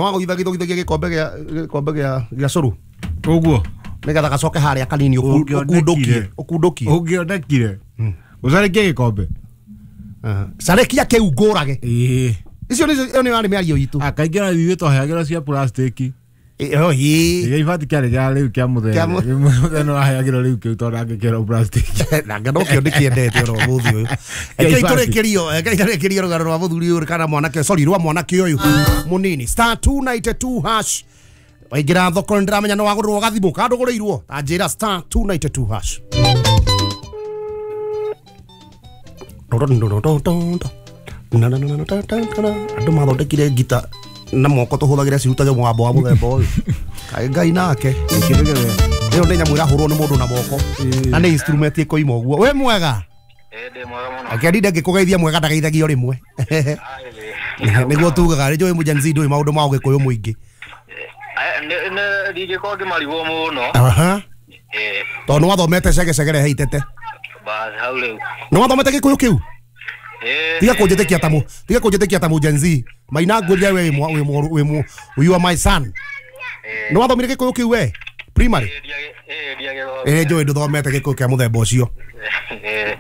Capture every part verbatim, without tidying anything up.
No agũithagithũgithagia gĩkombe gĩa gĩkombe gĩa gĩa cũrũ. Ũguo. Nĩgetha gacoke harĩa kanini ũkundũkie ũkundũkie. Ũngĩonekire. Ũcarĩkie gĩkombe. Carĩkia kĩu ngũrage. Ĩĩ. Icio nĩcio ĩyo nĩ yarĩ mĩario itũ. Ah, kaingĩ ona ithuĩ twaheagĩrwo cia plastiki. Ĩyo ĩĩ. Gĩa ibati kĩarĩ gĩa rĩu kĩa mũthee. Mũthee no aheagĩrwo rĩu kĩu tondũ angĩkĩrwo plastiki. Na no kĩo ndĩkĩendete oro mũthĩ ũyũ. Rekei tũrĩkĩrio, rekei tũrĩkĩrio rũgano rwa mũthuri ũyũ kana mwanake, sorry, rwa mwanake ũyũ mũnini. Star two nine two hash. Waingĩra thoko nĩ ndĩramenya no wagũrĩrwo gathimũ ka ndũgũrĩirwo. Ta njĩra star two nine two hash. Andũ mathondekire ngita na moko tũhũthagĩra cirutage mũgambo wa mũthemba ũyũ. Kaĩ Ngai nake ĩyo nĩ nyamũ ĩrahũrwo nĩ mũndũ na moko na nĩ instrument ĩkoima ũguo. Wĩ mwega? Akĩandinda ngĩkũgeithia mwega ndageithagio rĩmwe. Nĩguo tugaga rĩ njũĩ Gen Z ndũĩ maũndũ ma ũgĩkũyũ mũingĩ. Ndingĩkorwo ngĩmarigwo mũno. Tondũ nĩ wathomete cegecegere he itete. Nĩ wathomete gĩkũyũ kĩu? Tiga kũnjĩtĩkia ta mu tiga kũnjĩtĩkia ta mu Gen Z. Maina ngũria we we we you are my son. Nĩ wathomire gĩkũyũ kĩu we primary? Eh njũĩ ndũthomete gĩkũyũ kĩa mũthemba ũcio.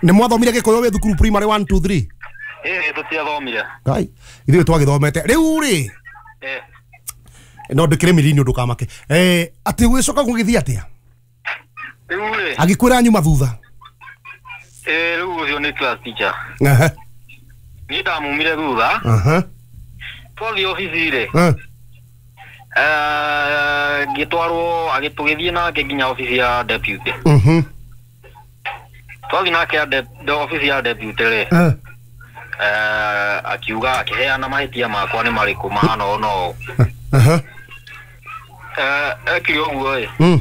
Nĩ mwathomire gĩkũyũ wĩ thukuru primary one two three? Eh tũtiathomire. Ngai ithuĩ twagĩthomete. Rĩu rĩ no ndĩkĩrĩ mĩrini ndũkamake. Eh atĩ gwĩcoka gũgĩthiĩ atĩa? Rĩu rĩ agĩkwĩra nyuma thutha. Eh rĩu ũcio nĩ class teacher. Aha. Niĩ ndamumire thutha. Aha. Twathiĩ obici rĩ. Eh ngĩtwarwo agĩtũgĩthiĩ nake nginya obici ya deputy. Mhm. Twathiĩ nake ya obici ya deputy rĩ. Eh. Eh akiuga akĩheana mahĩtia makwa nĩ marĩkũ mahana ũũ no. Aha. Eh ekire ũguo ĩ. Mm.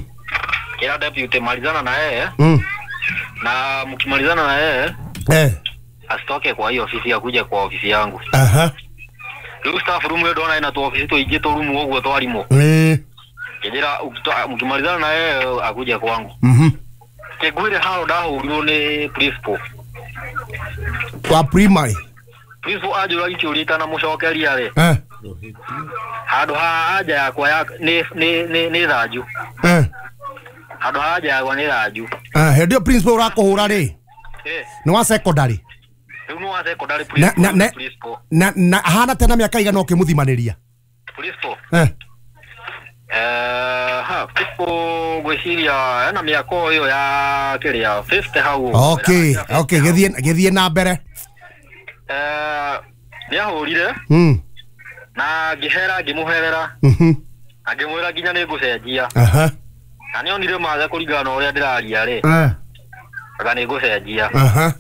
Kĩra deputy malizana na yeye. Mm. Na mkimalizana na yeye eh asitoke kwa hiyo ofisi akuje kwa ofisi yangu. Aha. Rĩu staff room ĩyo ndona ina tu ofisi tũingĩ tũrumu ũguo twarimũ. Eh. Kĩnjĩra mkimalizana na yeye akuje kwangu. Mhm. Kĩngwĩre hao ndahũrirwo nĩ principal. Kwa primary. Principal anjũragia kĩũria itanamũcokeria rĩ. Eh. Handũ ha anja yakwa ya nĩ nĩ nĩ thanju. Eh. Handũ ha anja yakwa nĩ thanju. Eh hĩndĩ ĩyo principal ũrakũhũra rĩ? Eh. Nĩ wa secondary. Rĩu nĩ wa secondary principal. Na na na ahana tena mĩaka igana ũkĩmũthimanĩria? Principal. Eh. Eh ha principal ngwĩciria ena mĩaka ĩyo ya kĩrĩa fifty hau. Okay, okay, gĩthiĩ gĩthiĩ na mbere. Eh nĩahũrire. Mm. Na ngĩhera ngĩmũherera. Mhm. Na ngĩmwĩra nginya nĩ ngũcenjia. Aha. Na nĩonire matha kũringana na ũrĩa ndĩraria rĩ. Eh. Anga nĩ ngũcenjia. Aha.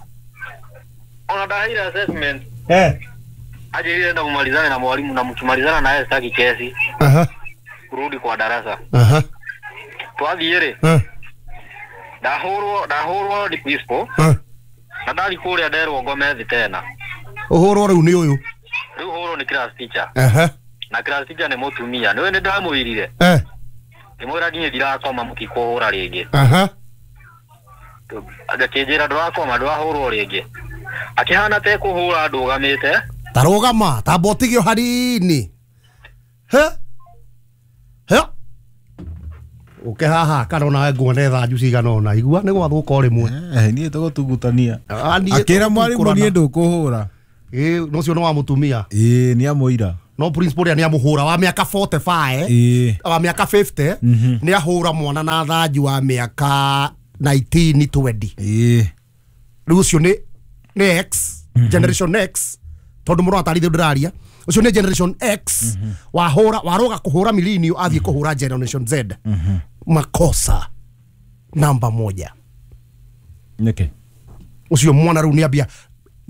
Ona ndaheire assessment. Eh. Anjĩrire na mũmalizane na mwalimu na mkimalizana naye sitaki kesi. Aha. Kurudi kwa darasa. Aha. Twathiĩ rĩ. Eh. Ndahũrwo ndahũrwo nĩ principal. Eh. Na ndathi kũrĩa nderwo ngome thĩ tena. Ũhũrwo rĩu nĩ ũyũ. Rĩu hũrwo nĩ class teacher. Aha. Na class teacher nĩ mũtumia. Nĩwe nĩ ndamwĩrire. Eh. Ngĩmwĩra nginya ndirakoma mũtikũhũra rĩngĩ. Aha. Agakĩnjĩra ndũrakoma ndũrahũrwo rĩngĩ. Akĩhana ta ekũhũra ndũgamĩte. Ta rũgama, ta mbotigio hanini. He? He? Ũke haha kana onawe nguone thanju cigana ũna. Igua nĩ gwathũka o rĩmwe. Eh niĩ tũgũtugutania. Akĩra Akĩra mwarimũ niĩ ndũkũhũra. Ĩĩ no ũcio nĩ wa mũtumia. Ĩĩ nĩ amũira. No principal ũrĩa nĩ amũhũra wa mĩaka forty-five. Ĩĩ. Wa mĩaka fifty nĩ ahũra mwana na thanju wa mĩaka nineteen twenty. Ĩĩ. Rĩu ũcio nĩ nĩ X, generation X, tondũ mũno atarithio ndĩraria. Ũcio nĩ generation X wahũra waroga kũhũra millennial athiĩ kũhũra generation Z. Makosa namba moja. Nĩkĩ? Ũcio mwana rĩu nĩ ambia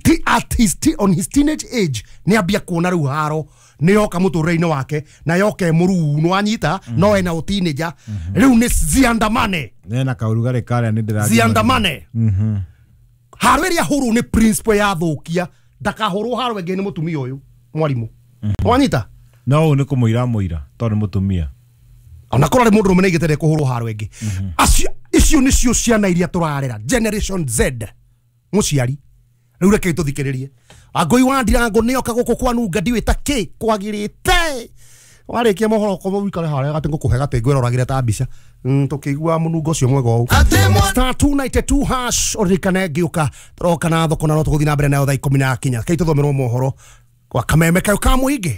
ti at his on his teenage age nĩ ambia kuona rĩu haro nĩ yoka mũtũrĩre-inĩ wake na yoka ĩmũruu nĩ wanyita no ena ũ teenager rĩu nĩ ziandamane. Nena kaũrugarĩ karĩa nĩ ndĩragia. Ziandamane. Mhm. Haro ĩrĩa hũrwo nĩ principal yathũkia ndakahũrwo haro ĩngĩ nĩ mũtumia ũyũ mwarimũ. Wanyita? No ũyũ nĩ kũmũira mũira tondũ nĩ mũtumia. Ona korwo arĩ mũndũrũme nĩ aigĩte kũhũrwo haro ĩngĩ. Acio icio nĩcio ciana iria tũrarera generation Z. Mũciari rĩu reke tũthikĩrĩrie. Angũi wa Ndirango nĩoka gũkũ kwa nunga ndiũĩ ta kĩ kwagĩrĩte. Warĩkia mohoro ko wikare harĩa gatĩ ngũkũhe gatĩ ngwĩroragĩre ta mbica. Mm, tũkĩigua mũnungo ũcio mwega ũũ. Star two ninety-two hash ũririkane ngĩũka tũroka na thoko na no tũgũthiĩ na mbere nayo thaa ikũmi na kinya. Kei tũthomerwo mohoro kwa kameme kayo ka mũingĩ.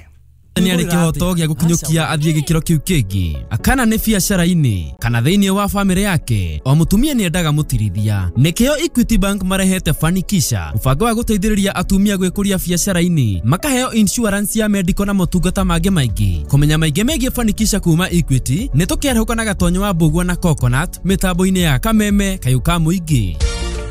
Nĩ arĩ kĩhoto gĩa gũkinyũkia athiĩ gĩkĩro kĩu kĩngĩ akana nĩ biacara-inĩ kana thĩinĩ wa bamĩrĩ yake o mũtumia nĩ endaga mũtirithia. Nĩkĩo Equity Bank marehete Fanikisha, mũbango wa gũteithĩrĩria atumia gwĩkũria biacara-inĩ, makaheo insurance ya medical na motungata mangĩ maingĩ. Kũmenya maingĩ megiĩ Fanikisha kuma Equity nĩ tũkĩarahũka na Gatonyo wa Mbũgua na Coconut mĩtambo-inĩ ya Kameme Kayũ ka Mũingĩ.